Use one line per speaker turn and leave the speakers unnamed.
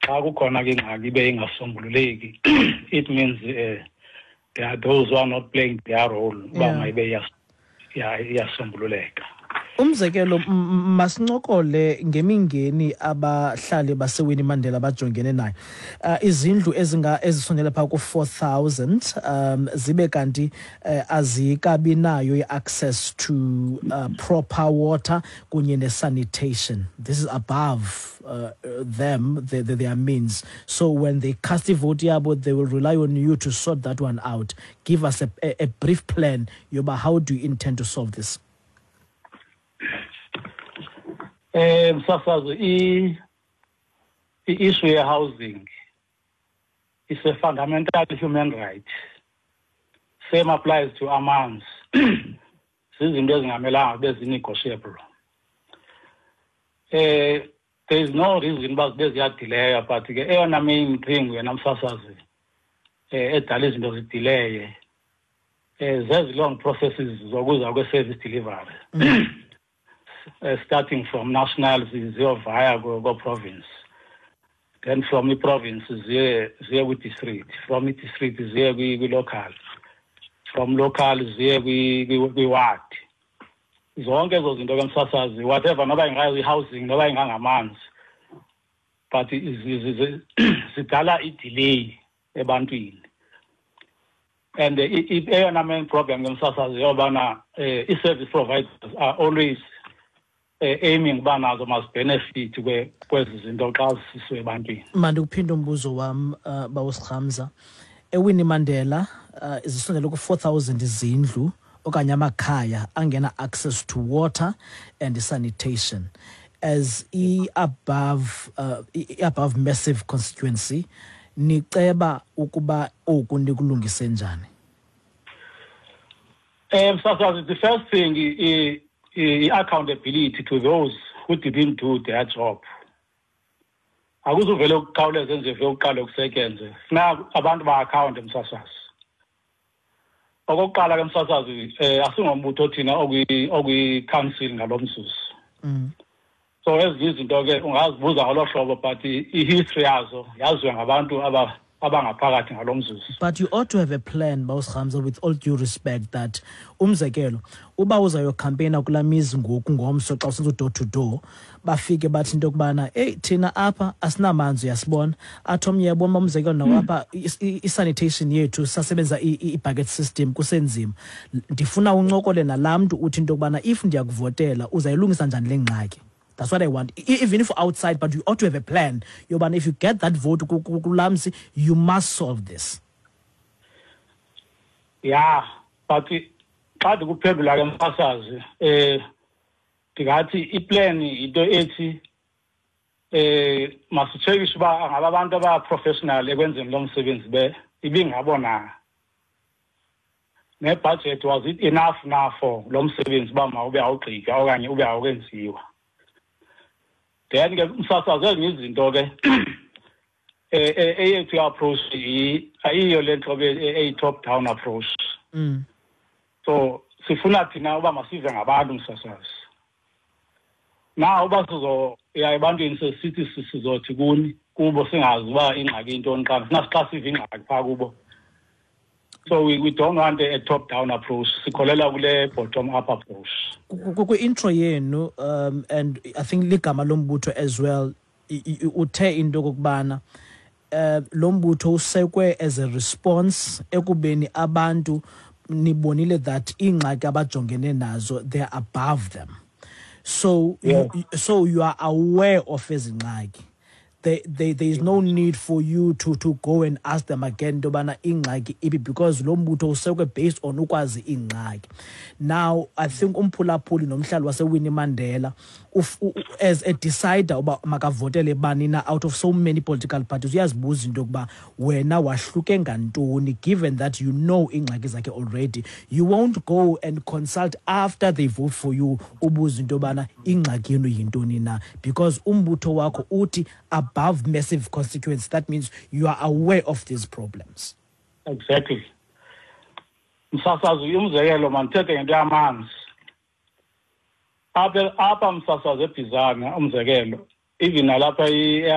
Xa kukhona ke ingxaki ibe ingasombululeki, it means there are those who are not playing their role uba mayibe iyasombululeka.
Umzekelo, masincokole ngemingeni abahlali baseWinnie Mandela bajongene nayo. Izindlu ezinga ezisondele phaa ku-4000 zibe kanti azikabi nayo i-access to proper water kunye ne-sanitation. This is above them, their means. So when they cast ivote yabo, they will rely on you to sort that one out. Give us a brief plan yoba how do you intend to solve this?
Msasazi, i-issue ye-housing is a fundamental human right. Same applies to amanzi. Zizinto ezingamelanga kube zi-negotiable. There is no reason uba zibe ziyadileya, but ke eyona main thing wena msasazi edala izinto zidileye zezi long processes zokuza kwe-service delivery, starting from national ziyovaya ko-province, then from i-province ziye kwi-district, from i-district ziye kwi-local, from local ziye kwi-ward. Zonke ezo zinto ke, msasazi, whatever, noba ingayi-housing, noba ingangamanzi, but zidala i-delay ebantwini. And eyona main problem ke, msasazi, yobana i-service providers are always aiming uba nazo mazibenefit kwezi zinto xa zisiswe ebantwini.
Mandikuphinde umbuzo wam, bawuSirhamza. EWinnie Mandela zisondele ku-4000 izindlu okanye amakhaya angena access to water and sanitation. As i-above massive constituency, niceba ukuba oku nikulungise njani?
Msasazi, the first thing, i-accountability to those who didn't do their job. Akuzuvele ukukhawuleza nje uqale kusetyenzwe. Funeka abantu ba-akhawunte, msasazi. Okokuqala ke, msasazi, asingombutho thina okwi-council ngalo mzuzu. So ezinye izinto ke ungazibuza ngolo hlobo, but i-history yazo yaziwa ngabantu abangaphakathi ngalo mzuzu.
But you ought to have a plan, bawuSirhamza, with all due respect, that umzekelo uba uzayocampaigna kulaa mizi ngoku ngomso, xa usenza u-door to door, bafike bathi into yokubana eyi, thina apha asinamanzi, uyasibona. Athi omnye, yabona uba umzekelo nawapha i-sanitation yethu sasebenza i-bucket system, kusenzima. Ndifuna uncokole nalaa mntu uthi into yokubana if ndiyakuvotela uzayilungisa njani le ngxaki. That's what I want. Even if outside, but you ought to have a plan yobana if you get that vote kulaa mzi, you must solve this.
Yeah, but xa ndikuphendula ke, msasazi, ndingathi iplan yinto ethi masitshekishe uba angaba abantu aba-professional ekwenzeni lo msebenzi be ibingabo na, nebudget, was it enough na for lo msebenzi uba mawube awugqitywa okanye ube awukenziwa. Then ke, msasazi, ezinye izinto ke, eyethu i-approach ayiyo le ntlobo eyi-top down approach. So sifuna thina uba masive ngabantu, msasazi. Na uba sizoya ebantwini sesithi sizothi kuni kubo, singazi uba ingxaki intoni, xa funa xa siva ingxaki phaa kubo. So we don't want a top down approach. Sikholelwa kule bottom up approach.
Kwi-intro yenu, and I think ligama lombutho as well, uthe into okokubana lo mbutho usekwe as a response ekubeni abantu nibonile that iingxaki abajongene nazo, they're above them. So so you are aware of ezi ngxaki. There is no need for you to go and ask them again into yobana ingxaki ipi, because lo mbutho usekwe based on ukwazi iingxaki. Now I think umphulaphuli nomhlali waseWinnie Mandela as a decider uba makavotele bani na out of so many political parties, uyazibuza into yokuba wena wahluke ngantoni, given that you know iingxaki zakhe already. You won't go and consult after they vote for you, ubuze into yobana ingxaki yenu yintoni na, because umbutho wakho uthi above massive constituency. That means you are aware of these problems.
Exactly, msasazi. Umzekelo, mandithethe ngento yamanzi apha, msasazi, eBhizana, umzekelo, even nalapha.